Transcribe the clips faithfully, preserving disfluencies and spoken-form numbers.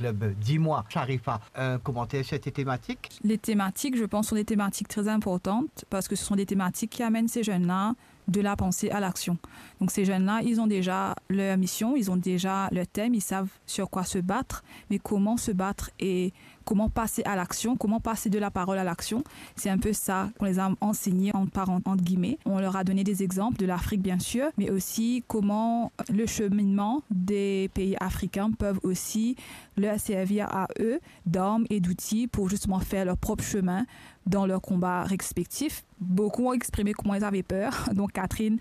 Club Dis-moi, Sharifa, un commentaire sur cette thématique ? Les thématiques, je pense, sont des thématiques très importantes parce que ce sont des thématiques qui amènent ces jeunes-là de la pensée à l'action. Donc ces jeunes-là, ils ont déjà leur mission, ils ont déjà leur thème, ils savent sur quoi se battre, mais comment se battre et comment passer à l'action, comment passer de la parole à l'action, c'est un peu ça qu'on les a enseignés en parent, entre guillemets. On leur a donné des exemples de l'Afrique, bien sûr, mais aussi comment le cheminement des pays africains peuvent aussi leur servir à eux d'armes et d'outils pour justement faire leur propre chemin dans leurs combats respectifs. Beaucoup ont exprimé comment ils avaient peur. Donc Catherine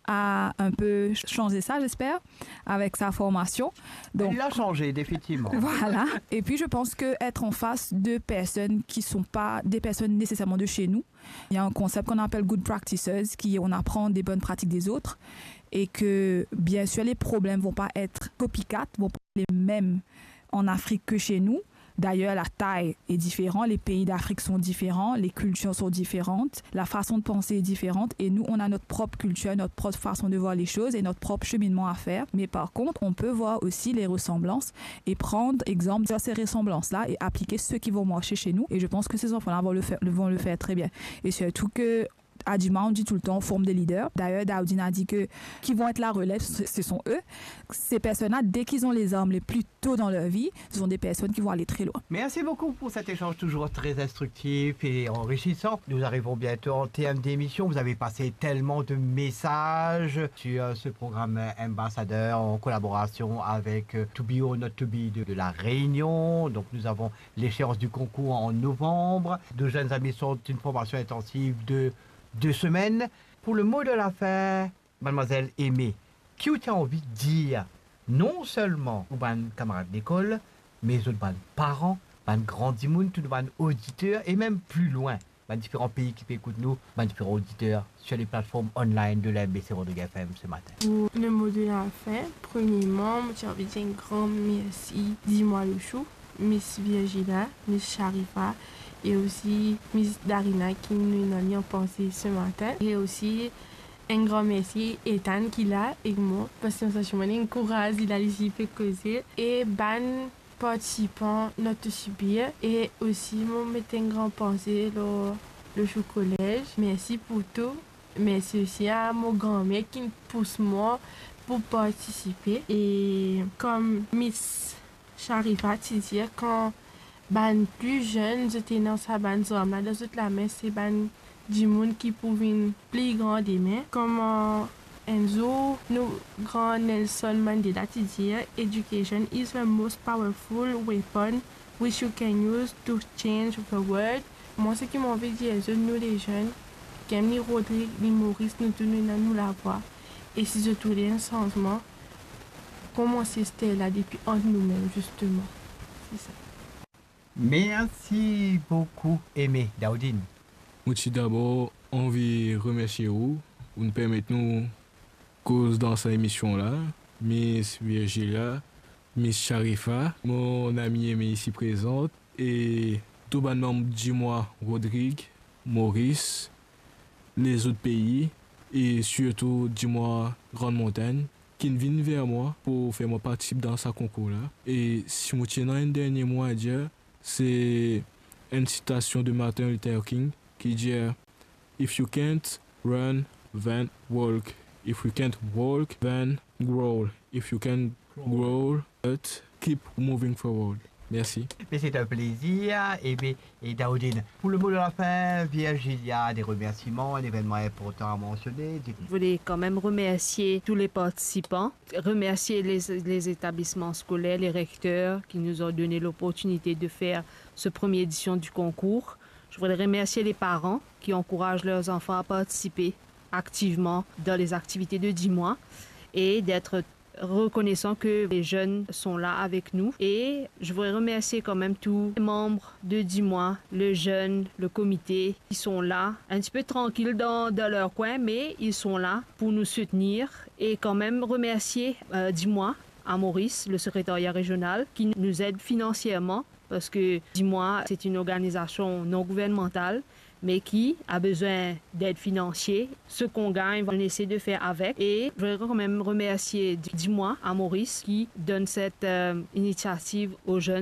a un peu changé ça, j'espère, avec sa formation. Donc, il a changé, définitivement. Voilà. Et puis, je pense que être en face de personnes qui sont pas des personnes nécessairement de chez nous, il y a un concept qu'on appelle good practices, qui on apprend des bonnes pratiques des autres, et que, bien sûr, les problèmes vont pas être copycat, vont pas être les mêmes en Afrique que chez nous. D'ailleurs, la taille est différente, les pays d'Afrique sont différents, les cultures sont différentes, la façon de penser est différente et nous, on a notre propre culture, notre propre façon de voir les choses et notre propre cheminement à faire. Mais par contre, on peut voir aussi les ressemblances et prendre exemple sur ces ressemblances-là et appliquer ceux qui vont marcher chez nous. Et je pense que ces enfants-là vont le faire, vont le faire très bien. Et surtout que à Dima, on dit tout le temps, on forme des leaders. D'ailleurs, Daoudine a dit que qui vont être la relève, ce ce sont eux. Ces personnes-là, dès qu'ils ont les armes les plus tôt dans leur vie, ce sont des personnes qui vont aller très loin. Merci beaucoup pour cet échange toujours très instructif et enrichissant. Nous arrivons bientôt en terme d'émission. Vous avez passé tellement de messages sur, euh, ce programme, euh, Ambassadeur en collaboration avec, euh, To Be or Not To Be de, de La Réunion. Donc nous avons l'échéance du concours en novembre. Nos jeunes amis sortent une formation intensive de deux semaines. Pour le mot de la fin, mademoiselle Aimée, ki ou ti anvi dir non selman ou bann kamarad lekol, me zot bann paran, bann gran dimoun, tou bann oditer e mem pli lwin, bann diferan pei ki pe ekout nou, bann diferan oditer sur les plateformes online de l'M B C Rodrigues F M ce matin. Pour le mot de la fin, premièrement, mo ti anvi dir enn gran mersi Dis-moi Lochou, Miss Virgilia, Miss Sharifa e osi Miss Darina ki nou ena li an panse ce matin. E osi enn gran mersi Ethan ki la ek mwa, parski mo santi mwa enn kouraz, li la, li pe koze. E bann partisipan Not To Be Or Not To Be, e osi mo met enn gran panse lor Lochou Collège. Mersi pou tou. Mersi osi a mo granmer ki pous mwa pou partisipe. E kom Miss Sharifa ti dir, kan bann pli zenn, zot ena sa bann zarm la dan zot lame, se bann dimoun ki pou vinn pli gran demin. Kouma enn zour nou gran Nelson Mandela ti dir, "Education is the most powerful weapon which you can use to change the world." Mwa, seki mo anvi dir zot, nou lezenn, Kemly, Rodrig, ni Moris, nou tou nou ena nou lavwa. E si zot oule enn sanzman, koumans ester la depi ant noumem, zisteman. Se sa. Mersi boukou, Aimée. Daoudine. Mo ti dabor anvi remersie ou, ou'nn permet nou koz dan sa emision la, Miss Virgilia, Miss Sharifa, mon ami Aimée isi prezant, e tou bann manm Dis-moi Rodrigues, Moris, lezot pei, e sirtou Dis-moi Grande Montagne, ki'nn vinn ver mwa pou fer mwa partisip dan sa konkour la. E si mo ti ena enn dernie mo a dir, se enn sitasion de Martin Luther King ki dir, "If you can't run, then walk. If you can't walk, then crawl. If you can crawl, but keep moving forward." Mersi. Mais c'est un plaisir. Et bien, et Daoudine, pour le mot de la fin, Virgilia, des remerciements, un événement important à mentionner. Je voulais quand même remercier tous les participants, remercier les, les établissements scolaires, les recteurs qui nous ont donné l'opportunité de faire ce première édition du concours. Je voudrais remercier les parents qui encouragent leurs enfants à participer activement dans les activités de Dis-moi et d'être reconnaissant que les jeunes sont là avec nous. Et je voudrais remercier quand même tous les membres de Dis-moi, le jeune, le comité, qui sont là, un petit peu tranquilles dans, dans leur coin, mais ils sont là pour nous soutenir. Et quand même remercier, euh, Dis-moi, à Maurice, le secrétariat régional, qui nous aide financièrement, parce que Dis-moi, c'est une organisation non gouvernementale, mais qui a besoin d'aide financière. Ce qu'on gagne, on essaie de faire avec. Et je voudrais quand même remercier Dis-moi à Maurice qui donne cette, euh, initiative aux jeunes.